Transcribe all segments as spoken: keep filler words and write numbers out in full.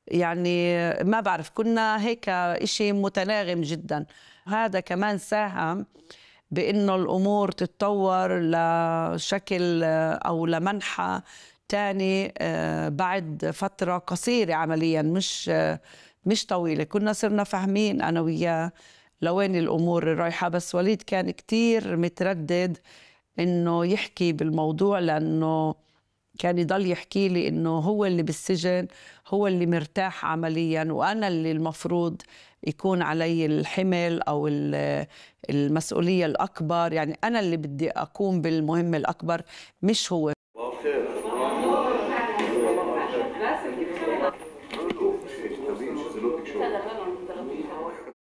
يعني ما بعرف كنا هيك إشي متناغم جداً. هذا كمان ساهم بإنه الأمور تتطور لشكل أو لمنحى تاني بعد فترة قصيرة عملياً مش مش طويلة. كنا صرنا فاهمين أنا وياه لوين الأمور رايحة، بس وليد كان كتير متردد إنه يحكي بالموضوع، لأنه كان يضل يحكي لي إنه هو اللي بالسجن، هو اللي مرتاح عملياً، وأنا اللي المفروض يكون علي الحمل أو المسؤولية الأكبر، يعني أنا اللي بدي أقوم بالمهمة الأكبر مش هو.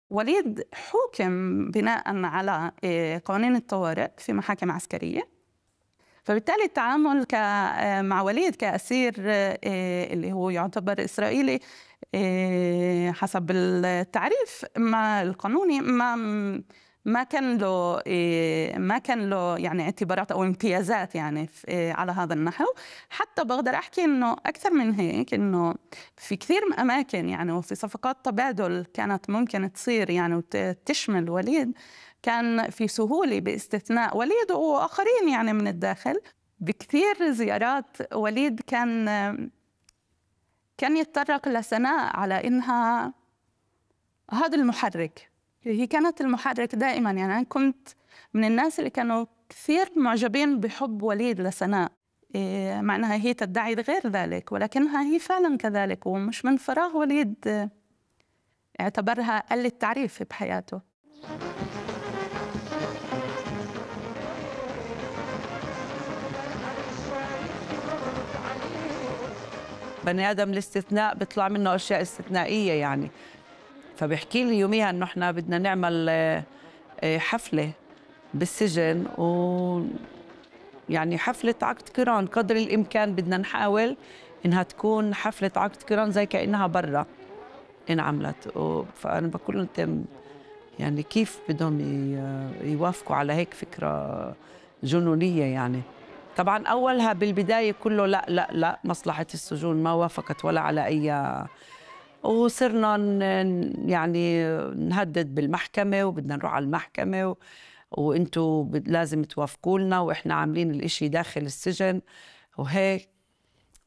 وليد حُكم بناءً على قوانين الطوارئ في محاكم عسكرية، فبالتالي التعامل مع وليد كأسير اللي هو يعتبر إسرائيلي حسب التعريف ما القانوني ما ما كان له ما كان له يعني اعتبارات أو امتيازات يعني على هذا النحو. حتى بقدر أحكي إنه أكثر من هيك، إنه في كثير من أماكن يعني وفي صفقات تبادل كانت ممكن تصير يعني وتشمل وليد، كان في سهولة باستثناء وليد وآخرين يعني من الداخل. بكثير زيارات وليد كان كان يتطرق لسناء على إنها هذا المحرك، هي كانت المحرك دائما. يعني أنا كنت من الناس اللي كانوا كثير معجبين بحب وليد لسناء، مع أنها هي تدعي غير ذلك، ولكنها هي فعلا كذلك، ومش من فراغ وليد اعتبرها قل التعريف بحياته. بني آدم الاستثناء بيطلع منه أشياء استثنائية يعني. فبحكي لي يوميها إنه إحنا بدنا نعمل حفلة بالسجن، و يعني حفلة عقد قران قدر الإمكان بدنا نحاول إنها تكون حفلة عقد قران زي كأنها برا انعملت. فأنا بقول لهم يعني كيف بدهم يوافقوا على هيك فكرة جنونية يعني. طبعا أولها بالبداية كله لا لا لا مصلحة السجون ما وافقت ولا على أي، وصرنا يعني نهدد بالمحكمة وبدنا نروح على المحكمة، وانتوا لازم توافقوا لنا واحنا عاملين الاشي داخل السجن وهيك.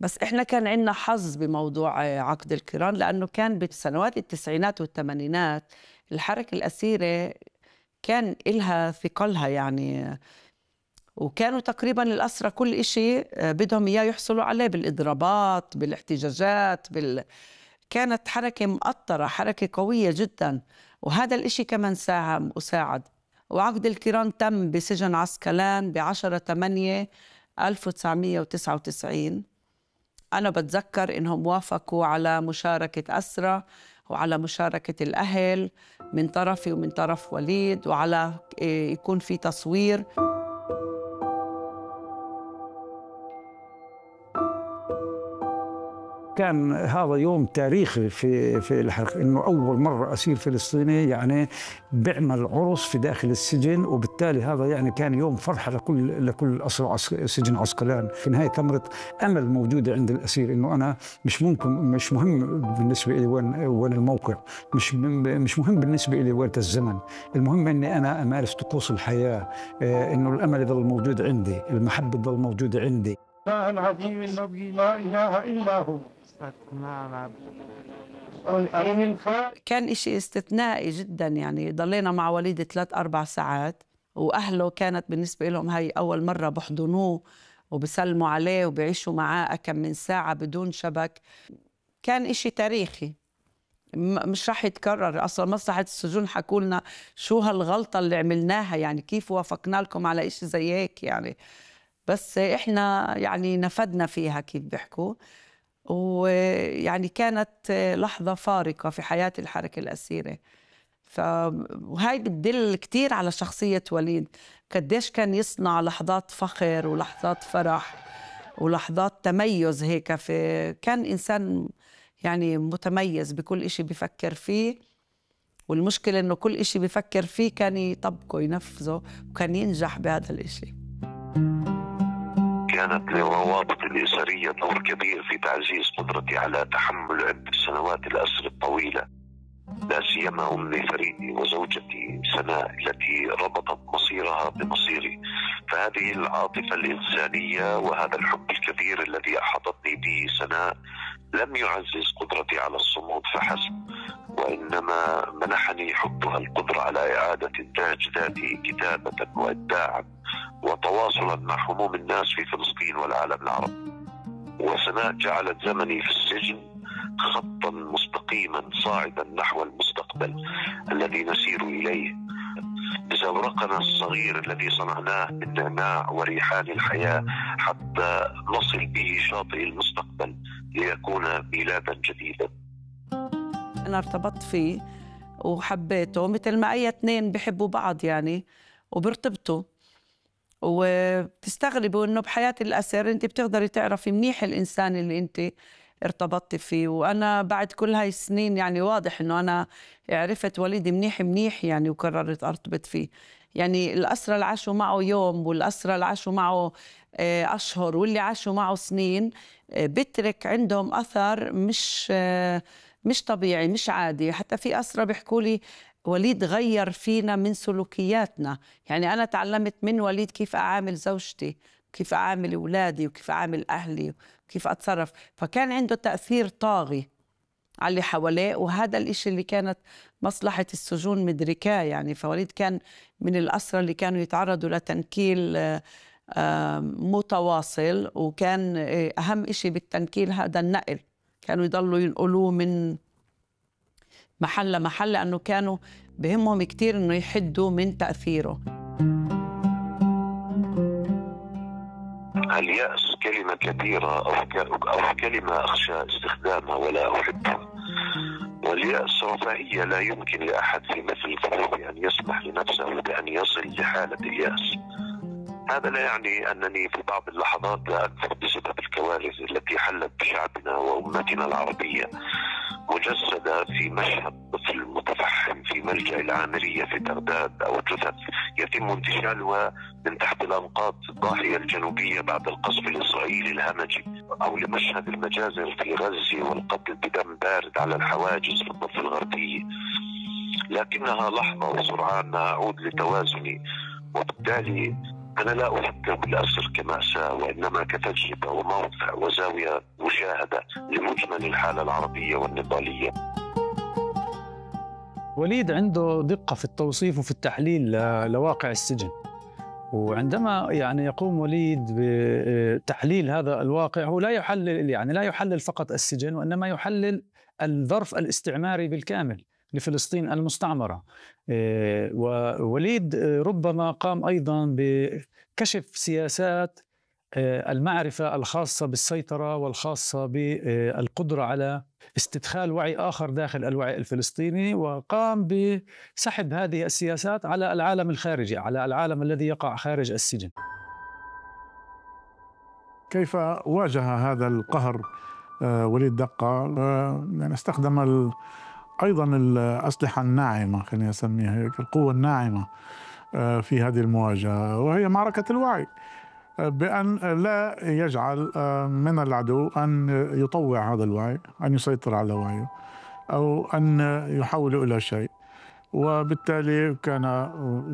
بس احنا كان عندنا حظ بموضوع عقد القران، لانه كان بالسنوات التسعينات والثمانينات الحركة الأسيرة كان إلها ثقلها يعني، وكانوا تقريبا الأسرى كل إشي بدهم إياه يحصلوا عليه بالإضرابات بالاحتجاجات بال... كانت حركة مؤطرة، حركة قوية جدا، وهذا الإشي كمان ساهم وساعد. وعقد القران تم بسجن عسقلان بعشرة ثمانية ألف وتسعمية وتسعة وتسعين. أنا بتذكر إنهم وافقوا على مشاركة أسرى وعلى مشاركة الأهل من طرفي ومن طرف وليد، وعلى يكون في تصوير. كان هذا يوم تاريخي في في الحقيقة، انه اول مره اسير فلسطيني يعني بيعمل عرس في داخل السجن، وبالتالي هذا يعني كان يوم فرحه لكل لكل اسرى سجن عسقلان. في نهايه ثمره امل موجوده عند الاسير، انه انا مش ممكن مش مهم بالنسبه لي وين وين الموقع، مش مش مهم بالنسبه لي وين الزمن، المهم اني انا امارس طقوس الحياه، انه الامل يظل موجود عندي، المحبه تظل موجوده عندي. العظيم الذي لا اله الا هو. كان إشي استثنائي جدا يعني. ضلينا مع وليد ثلاث أربع ساعات، وأهله كانت بالنسبة لهم هاي أول مرة بحضنوه وبسلموا عليه وبيعيشوا معاه كم من ساعة بدون شبك. كان إشي تاريخي مش راح يتكرر. أصلا مصلحة السجون حكوا لنا شو هالغلطة اللي عملناها، يعني كيف وافقنا لكم على إشي زي هيك يعني. بس إحنا يعني نفدنا فيها كيف بيحكوا، ويعني كانت لحظة فارقة في حياة الحركة الأسيرة. فهاي بتدل كتير على شخصية وليد، قديش كان يصنع لحظات فخر ولحظات فرح ولحظات تميز هيك. في كان إنسان يعني متميز بكل إشي بيفكر فيه، والمشكلة إنه كل إشي بيفكر فيه كان يطبقه ينفذه، وكان ينجح بهذا الإشي. كانت للروابط الأسرية دور كبير في تعزيز قدرتي على تحمل عدة سنوات الأسر الطويلة، لا سيما أمي فريدي وزوجتي سناء التي ربطت مصيرها بمصيري. فهذه العاطفة الإنسانية وهذا الحب الكبير الذي أحاطتني به سناء لم يعزز قدرتي على الصمود فحسب، وإنما منحني حبها القدرة على إعادة إنتاج ذاتي كتابة وإبداعا وتواصلا مع هموم الناس في فلسطين والعالم العربي. وسناء جعلت زمني في السجن خطا مستقيما صاعدا نحو المستقبل الذي نسير إليه، بزورقنا الصغير الذي صنعناه من نعناع وريحان الحياة حتى نصل به شاطئ المستقبل ليكون ميلادا جديدا. أنا ارتبطت فيه وحبيته مثل ما أي اثنين بيحبوا بعض يعني وبيرتبطوا، وبتستغربوا إنه بحياة الأسر أنت بتقدري تعرفي منيح الإنسان اللي أنت ارتبطت فيه. وأنا بعد كل هاي السنين يعني واضح إنه أنا عرفت وليدي منيح منيح يعني وقررت أرتبط فيه. يعني الأسرة اللي عاشوا معه يوم والأسرة اللي عاشوا معه أشهر واللي عاشوا معه سنين بترك عندهم أثر مش مش طبيعي مش عادي. حتى في أسرة بيحكوا لي وليد غير فينا من سلوكياتنا. يعني أنا تعلمت من وليد كيف أعامل زوجتي، كيف أعامل أولادي، وكيف أعامل أهلي، وكيف أتصرف. فكان عنده تأثير طاغي على اللي حواليه، وهذا الإشي اللي كانت مصلحة السجون مدركاه يعني. فوليد كان من الأسرى اللي كانوا يتعرضوا لتنكيل متواصل، وكان أهم إشي بالتنكيل هذا النقل، كانوا يضلوا ينقلوه من محل لمحل لأنه كانوا بهمهم كتير إنه يحدوا من تأثيره. اليأس كلمة كبيرة أو, أو كلمة أخشى استخدامها ولا أحبها. واليأس رفاهية لا يمكن لأحد في مثل ظروفي أن يسمح لنفسه بأن يصل لحالة اليأس. هذا لا يعني أنني في بعض اللحظات لا أكثر بسبب الكوارث التي حلت بشعبنا وأمتنا العربية، مجسدة في مشهد طفل متفحم في ملجأ العامرية في بغداد، أو جثث يتم انتشالها من تحت الأنقاض الضاحية الجنوبية بعد القصف الإسرائيلي الهمجي، أو لمشهد المجازر في غزة والقتل بدم بارد على الحواجز في الضفة الغربية. لكنها لحظة وسرعان ما أعود لتوازني، وبالتالي أنا لا أفكر بالأسر كمأساة، وإنما كتجربة وموقع وزاوية مشاهدة لمجمل الحالة العربية والنضالية. وليد عنده دقة في التوصيف وفي التحليل لواقع السجن، وعندما يعني يقوم وليد بتحليل هذا الواقع هو لا يحلل يعني لا يحلل فقط السجن، وإنما يحلل الظرف الاستعماري بالكامل لفلسطين المستعمرة. ووليد ربما قام أيضا بكشف سياسات المعرفة الخاصة بالسيطرة والخاصة بالقدرة على استدخال وعي آخر داخل الوعي الفلسطيني، وقام بسحب هذه السياسات على العالم الخارجي، على العالم الذي يقع خارج السجن. كيف واجه هذا القهر وليد دقة؟ يعني استخدم ال أيضا الأسلحة الناعمة، خلينا نسميها هيك، القوة الناعمة في هذه المواجهة، وهي معركة الوعي، بأن لا يجعل من العدو أن يطوع هذا الوعي، أن يسيطر على وعيه، أو أن يحوله إلى شيء. وبالتالي كان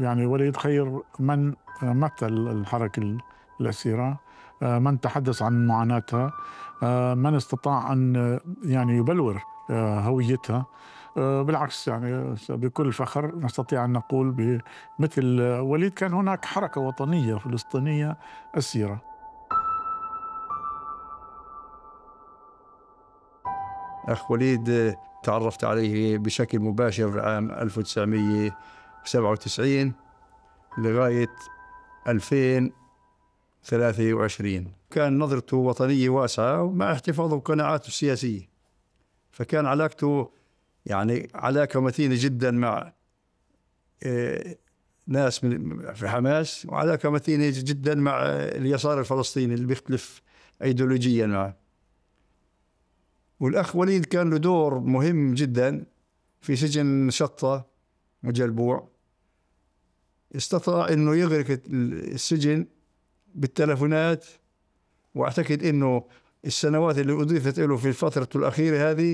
يعني وليد خير من مثل الحركة الأسيرة، من تحدث عن معاناتها، من استطاع أن يعني يبلور هويتها. بالعكس يعني بكل فخر نستطيع أن نقول بمثل وليد كان هناك حركة وطنية فلسطينية أسيرة. أخ وليد تعرفت عليه بشكل مباشر عام ألف وتسعمئة وسبعة وتسعين لغاية ألفين وثلاثة وعشرين. كان نظرته وطنية واسعة مع احتفاظه بقناعاته السياسية، فكان علاقته يعني علاقة متينة جدا مع ناس من في حماس، وعلاقة متينة جدا مع اليسار الفلسطيني اللي بيختلف أيديولوجيا معه. والأخ وليد كان له دور مهم جدا في سجن شطة وجلبوع. استطاع إنه يغرق السجن بالتلفونات وأعتقد أنه السنوات اللي أضيفت له في الفترة الأخيرة هذه